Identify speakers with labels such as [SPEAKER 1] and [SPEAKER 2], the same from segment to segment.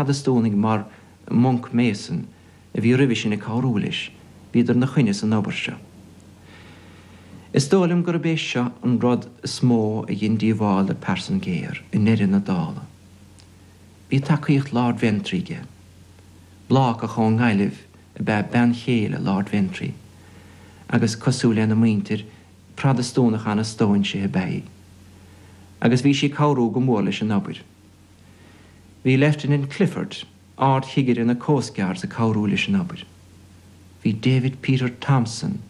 [SPEAKER 1] Protastúnaigh mar Monck Mason, a bhí roimhe sin ag cabhrú leis, bhíodar 'na choinne san obair seo. Is dóigh liom gurb é seo an rud is mó a dhein díobháil do Pearson Géar i ndeireadh na dála. Bhí tacaíocht Lord Ventry aige. Blácach ón nGaillimh ab ea bean chéile Lord Ventry agus, cosúil lena muintir, Protastúnach an-stóinsithe ab ea í. Agus bhí sí ag cabhrú go mór leis an obair. Bhí Leifteanant Clifford, Ard-Chigire na Coast Guards ag cabhrú leis an obair. Bhí David Peter Thompson,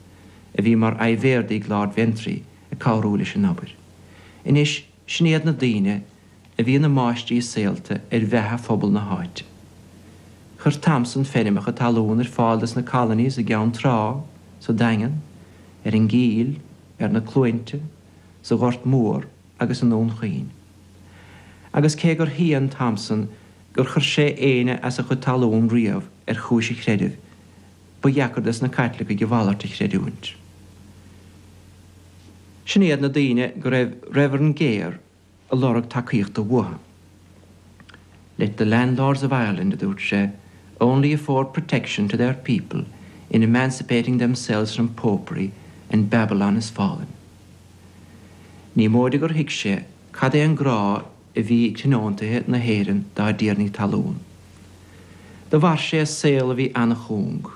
[SPEAKER 1] a bhí mar aimhéardaí ag Lord Ventry, ag cabhrú leis an obair. Anois, sin iad na daoine a bhí ina máistrí saolta ar bheatha phobal na háite. Chuir Thompson feirmeacha talún ar fáil dos na colonies i gCeann Trá, sa Daingean, ar an gCill, ar na Cluainte, sa Ghort Mór agus i nDún Chaoin. Agus cé gur shéan Thompson gur chuir sé éinne as a chuid talún riamh ar chúis a chreidimh, ba dheacair dos na Caitlicigh a mhalairt a chreidiúint. Sin iad na daoine go raibh Reverend Gare ag lorg tacaíochta uathu. Let the landlords of Ireland, a dúirt sé, only afford protection to their people in emancipating themselves from popery and Babylon is fallen. Ní móide gur thuig sé cad é an grá a bhí ag tionóntaithe na hÉireann dá dtiarnaí talún. Do mhair sé saol a bhí an-chúng.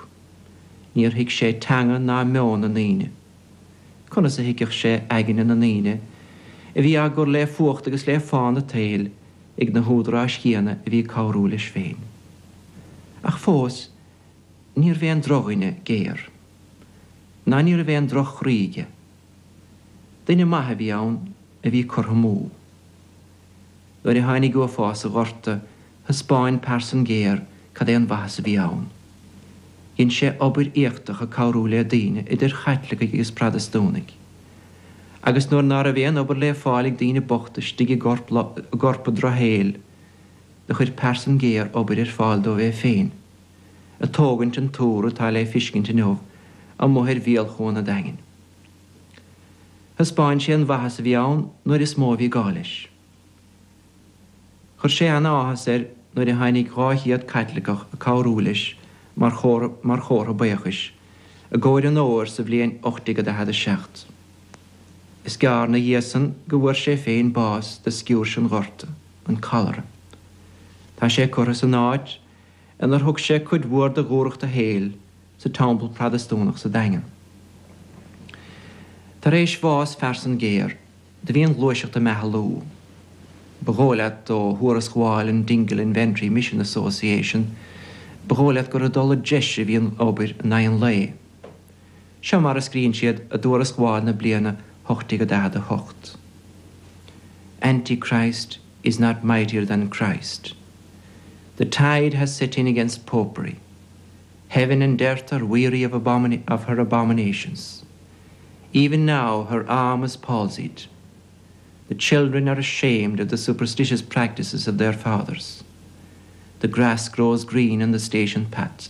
[SPEAKER 1] Níor thuig sé teanga ná meon na ndaoine. Conas a thuigfeadh sé aigne na ndaoine a bhí á gcur le fuacht agus le fána an tsaoil ag na húdaráis chéanna a bhí ag cabhrú leis féin? Ach fós, níorbh aon drochdhuine Gare. Ná ní raibh aon droch-chroí aige. Duine maith a bhí ann a bhí curtha amú. Nuair a tháinig uafás an Ghorta, thaispeáin Pearson Gare cad é an mhaitheas a bhí ann. Dhein sé obair éachtach ag cabhrú le daoine, idir Chaitlicigh agus Phrotastúnaigh. Agus nuair ná raibh aon obair le fáil ag daoine bochta istigh i gcorp an drochshaoil, do chuir Pearson Gare obair ar fáil dóibh é féin, ag tógaint an túr atá le fiscint inniu amuigh ar bhéal Chuan an Daingin. Thaispeáin sé an mhaitheas a bhí ann nuair is mó a bhí gá leis. Chuir sé an-áthas air nuair a tháinig 200 Caitliceach ag cabhrú leis mar chomhartha buíochais i gcomhair an fhómhair sa bhliain 1847. Is gearr 'na dhiaidh san go bhfuair sé féin bás de sciúirse an Ghorta, an cholera. Tá sé curtha san áit inar thug sé cuid mhór de dhúthracht a shaoil, sa Teampall Protastúnach sa Daingean. Tar éis bhás Phearsan Géar, do bhí an ghluaiseacht ag meathlú. Ba dhóigh leat ó thuarasgabháil an Dingle and Ventry Mission Association, ba dhóigh leat gur ag dul i dtreis a bhí an obair in aghaidh an lae. Seo mar a scríonn siad i dtuarasgabháil na bliana 1848, Antichrist is not mightier than Christ. The tide has set in against popery. Heaven and earth are weary of, of her abominations. Even now her arm is palsied. The children are ashamed of the superstitious practices of their fathers. The grass grows green on the station path.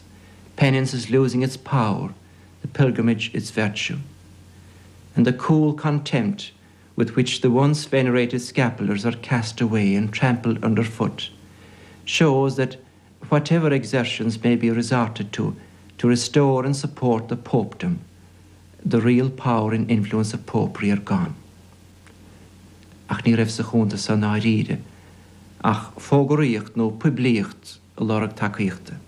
[SPEAKER 1] Penance is losing its power, the pilgrimage its virtue. And the cool contempt with which the once venerated scapulars are cast away and trampled underfoot shows that whatever exertions may be resorted to to restore and support the popedom, the real power and influence of popery are gone. Ach ní raibh sa chuntas so i ndáiríre ach fógraíocht nó poiblíocht ag lorg tacaíochta.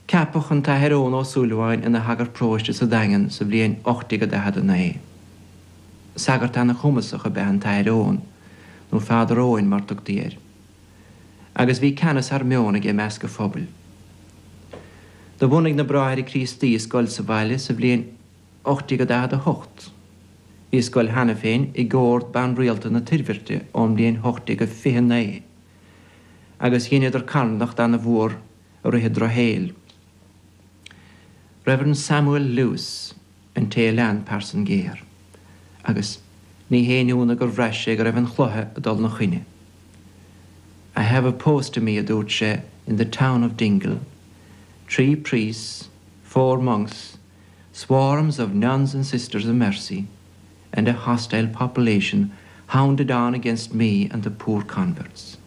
[SPEAKER 1] Ceapadh an tAthair Eoin Ó Súilleabháin ina shagart paróiste sa Daingean sa bhliain 1849. Sagart ana-chumasach ab ea an tAthair Eoin, nó Father Eoin mar tugtaí air. agus bhí ceannas thar meon aige i measc an phobail. Do bhunaigh na Bráithre Críostaí scoil sa bhaile sa bhliain 1848. Bhí scoil cheana féin ag Ord Ban Rialta na Toirbhirte ón mbliain 1829, agus dheineadar carthanacht ana-mhór i rith an drochshaoil. Reverend Samuel Lewis an té a lean Pearson Géar, agus ní haon ionadh gur bhraith sé go raibh an chluiche ag dul 'na choinne. I have opposed to me, a dúirt sé, in the town of Dingle, tree priests, four monks, swarms of nuns and sisters of mercy, and a hostile population hounded on against me and the poor converts.